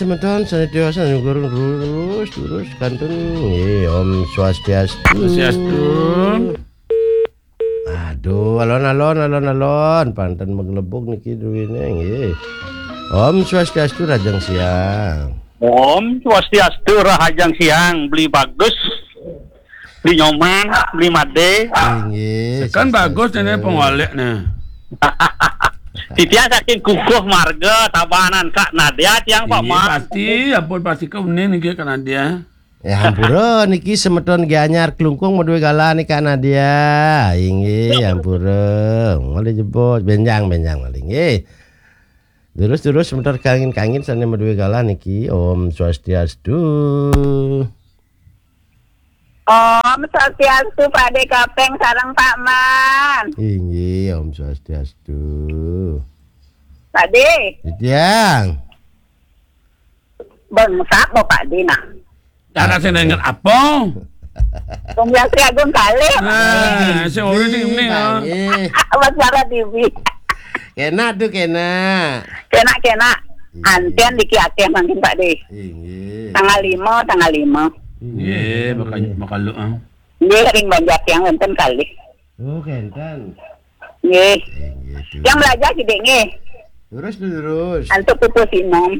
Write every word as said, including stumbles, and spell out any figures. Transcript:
Semeton sané tiosan gurung lurus, lurus kantun. Nggih, Om Swastiastu. Swastiastu. Aduh, alon-alon, alon-alon, panten maglebug niki duwine nggih. Om Swastiastu, rahajeng siang. Om Swastiastu, rahajeng siang, Beli Bagus, Beli Nyoman, Beli Made. Inggih, Kan Swastiastu. Bagus ini pengwalik nih. Titiang saking Kukuh Marga, Tabanan, Kak Nadia, tiang Pak Inggih, Mas. Pasti, ampun, pasti ke uning niki Kak Nadia. Ya, ampura, niki semeton Gianyar Klungkung madué galah nika Nadia. Inggih, ampura. Malih jebos, benjang, benjang malih nggih. Terus, terus semeton kangin-kangin sané madué galah niki. Om Swastiastu. Om Swastiastu, Pak De Kapeng sareng Pak Man. Inggih, Om Swastiastu. Pak De. Titiang. Bengsak kok Pak De nah. Cara sing inget apa? Wong Yasri Agung kalih. Nah, sing urip sing ini, ya. Nggih. Awas suara T V. Kena tuh, kena. Kena, kena. Iya. Anten niki akeh mangkin Pak De. Inggih. Tanggal lima, tanggal lima. Nggih, bakal, bakal lu, ah. Nggih, ring Banjar tiang wonten kalih. Oh, kenten. Nggih. Inggih, tuh. Yang belajar gede nggih. Terus, terus. Antuk pupus inom.